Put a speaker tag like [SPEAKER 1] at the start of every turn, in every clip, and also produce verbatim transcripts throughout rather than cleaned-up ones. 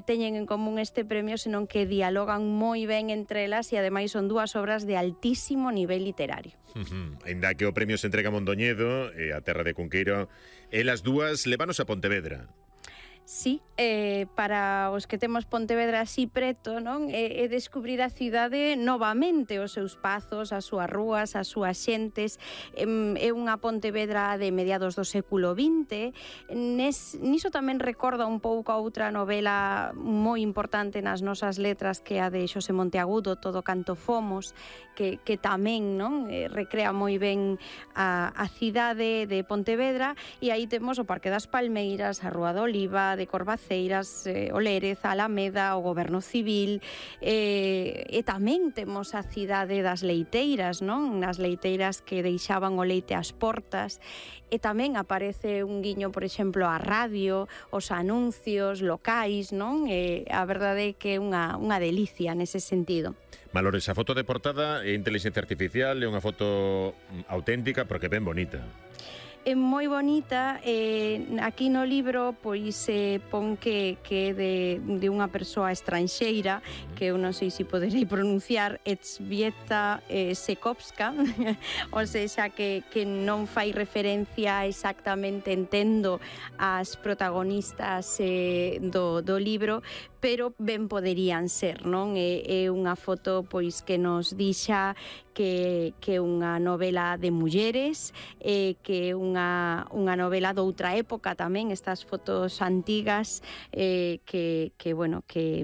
[SPEAKER 1] teñen en común este premio, senón que dialogan moi ben entre elas e ademais son dúas obras de altísimo nivel literario.
[SPEAKER 2] Uh-huh. Ainda que o premio se entrega a Mondoñedo e a terra de Cunqueiro, elas dúas levanos a Pontevedra.
[SPEAKER 1] Sí, eh, para os que temos Pontevedra así preto, non? É, é descubrir a cidade novamente, os seus pazos, as súas rúas, as súas xentes. É, é unha Pontevedra de mediados do século vinte. Nes, niso tamén recorda un pouco a outra novela moi importante nas nosas letras, que é a de Xosé Monteagudo, Todo canto fomos, que, que tamén, non? Eh, recrea moi ben a, a cidade de Pontevedra, e aí temos o Parque das Palmeiras, a Rúa do Oliva, de Corvaceiras, eh, o Lérez, a Alameda, o Goberno Civil, eh, e tamén temos a cidade das leiteiras, non? Nas leiteiras que deixaban o leite ás portas, e tamén aparece un guiño, por exemplo, á radio, os anuncios locais, non? E a verdade é que é unha, unha delicia nese sentido.
[SPEAKER 2] Malores, a foto de portada é inteligencia artificial, é unha foto auténtica porque ben bonita.
[SPEAKER 1] É moi bonita, eh, aquí no libro pois se eh, pon que, que é de, de unha persoa estranxeira, que eu non sei se poderei pronunciar, Elżbieta eh, Sekowska, ou seja, que, que non fai referencia exactamente, entendo, as protagonistas eh, do, do libro, pero ben poderían ser, non? É, é unha foto pois que nos dixa que que é unha novela de mulleres, eh, que é unha, unha novela doutra época tamén, estas fotos antigas eh, que, que, bueno, que,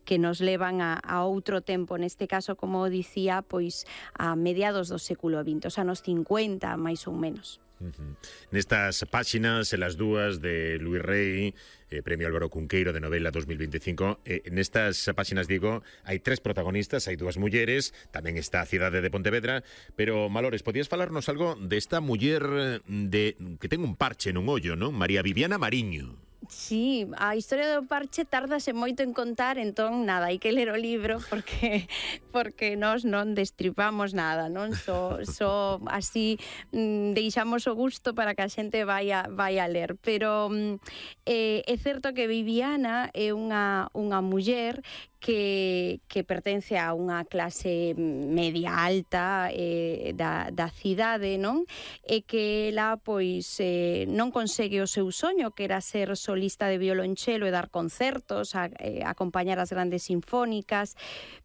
[SPEAKER 1] que nos levan a, a outro tempo, neste caso, como dicía, pois a mediados do século vinte, os anos cincuenta, máis ou menos.
[SPEAKER 2] Uh-huh. Nestas páxinas, en las dúas de Luis Rey, eh, Premio Álvaro Cunqueiro de novela dos mil veinticinco, eh, nestas páxinas, digo, hai tres protagonistas, hai dúas mulleres, tamén está a cidade de Pontevedra, pero, Malores, podías falarnos algo desta muller de que ten un parche nun ollo, non? María Viviana Mariño.
[SPEAKER 1] Sí, a historia do parche tardase moito en contar, entón nada, hai que ler o libro porque porque nós non destripamos nada, non? Só, só así mm, deixamos o gusto para que a xente vai a, vai a ler, pero mm, eh, é certo que Viviana é unha, unha muller que, que pertence a unha clase media alta eh, da, da cidade, non? E que ela, pois, eh, non consegue o seu soño, que era ser solista de violonchelo e dar concertos, a, eh, acompañar as grandes sinfónicas,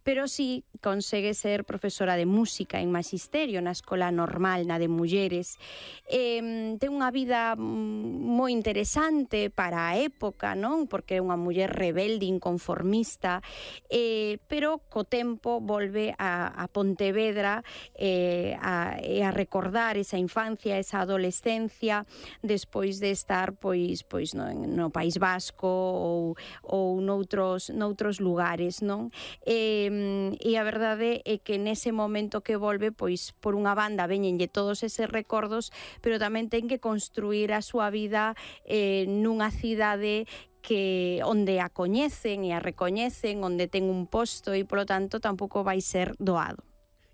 [SPEAKER 1] pero sí consegue ser profesora de música en magisterio na Escola Normal, na de mulleres. Eh, ten unha vida moi interesante para a época, non? Porque é unha muller rebelde, inconformista, Eh, pero co tempo volve a, a Pontevedra eh, a, a recordar esa infancia, esa adolescencia, despois de estar pois pois no, no País Vasco ou, ou noutros, noutros lugares, non? Eh, e a verdade é que nese momento que volve, pois por unha banda veñenlle todos eses recordos, pero tamén ten que construir a súa vida eh, nunha cidade que onde a coñecen e a recoñecen, onde ten un posto e, polo tanto, tampouco vai ser doado.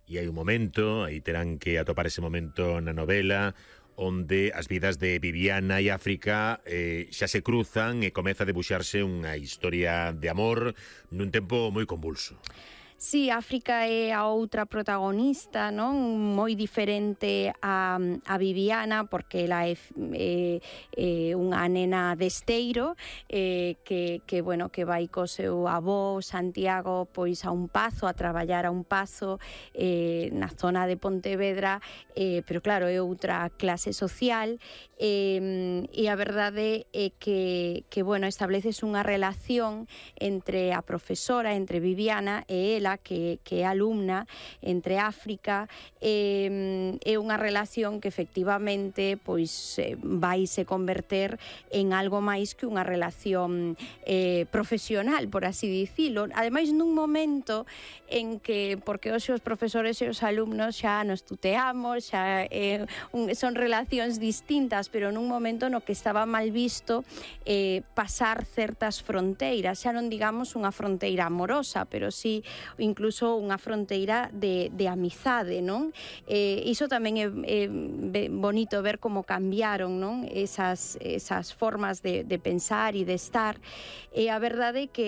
[SPEAKER 2] E hai un momento, aí terán que atopar ese momento na novela, onde as vidas de Viviana e África eh, xa se cruzan e comeza a debuxarse unha historia de amor nun tempo moi convulso.
[SPEAKER 1] Sí, África é a outra protagonista, non? Moi diferente a, a Viviana, porque ela é, é, é unha nena de Esteiro, eh, que, que, bueno, que vai co seu avó Santiago pois a un pazo, a traballar a un pazo eh, na zona de Pontevedra, eh, pero claro, é outra clase social, eh, e a verdade é que, que bueno, estableces unha relación entre a profesora, entre Viviana e ela, que, que é alumna, entre África, eh, é unha relación que efectivamente pois eh, vai se converter en algo máis que unha relación eh, profesional, por así dicilo. Ademais, nun momento en que, porque hoxe os profesores e os alumnos xa nos tuteamos, xa eh, un, son relacións distintas, pero nun momento no que estaba mal visto eh, pasar certas fronteiras, xa non digamos unha fronteira amorosa, pero sí incluso unha fronteira de, de amizade, non? Eh, iso tamén é, é bonito ver como cambiaron, non? Esas, esas formas de, de pensar e de estar, e a verdade é que